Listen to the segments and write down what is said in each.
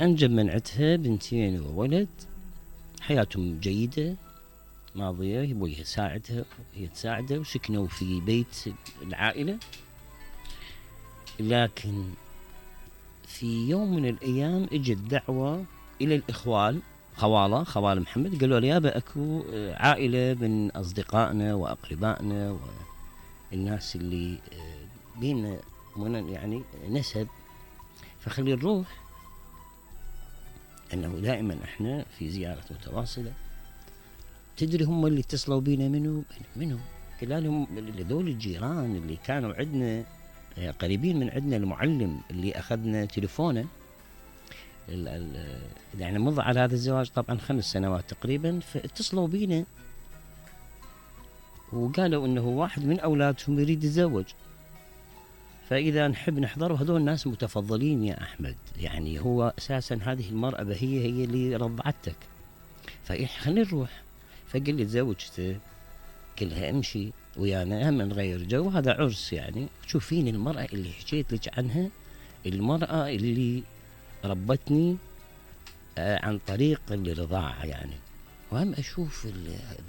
انجب من عندها بنتين وولد، حياتهم جيدة ماضية، ابويها يساعدها وهي تساعده، وسكنوا في بيت العائلة. لكن في يوم من الايام اجت دعوة الى الاخوال، خوال محمد، قالوا له يابا اكو عائلة من اصدقائنا واقربائنا والناس اللي بينا يعني نسب، فخلي نروح، انه دائما احنا في زيارة متواصلة. تدري هم اللي اتصلوا بينا منو؟ قال لهم هذول الجيران اللي كانوا عندنا قريبين من عندنا، المعلم اللي اخذنا تليفونه يعني مضى على هذا الزواج طبعا 5 سنوات تقريبا، فاتصلوا بينا وقالوا انه واحد من اولادهم يريد يتزوج، فاذا نحب نحضر. وهذول الناس متفضلين يا احمد، يعني هو اساسا هذه المرأة هي اللي رضعتك، خلينا نروح. فقال لي تزوجته؟ قلها امشي ويانا هم نغير جو، هذا عرس يعني. شوفين المرأة اللي حكيت لك عنها، المرأة اللي ربتني عن طريق الرضاعة يعني. وهم اشوف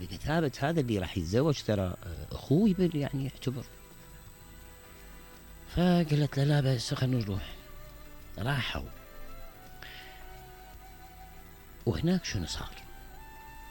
بكتابة هذا اللي راح يتزوج ترى اخوي يعني يعتبر. فقالت لا بس خلينا نروح. راحوا، وهناك شنو صار؟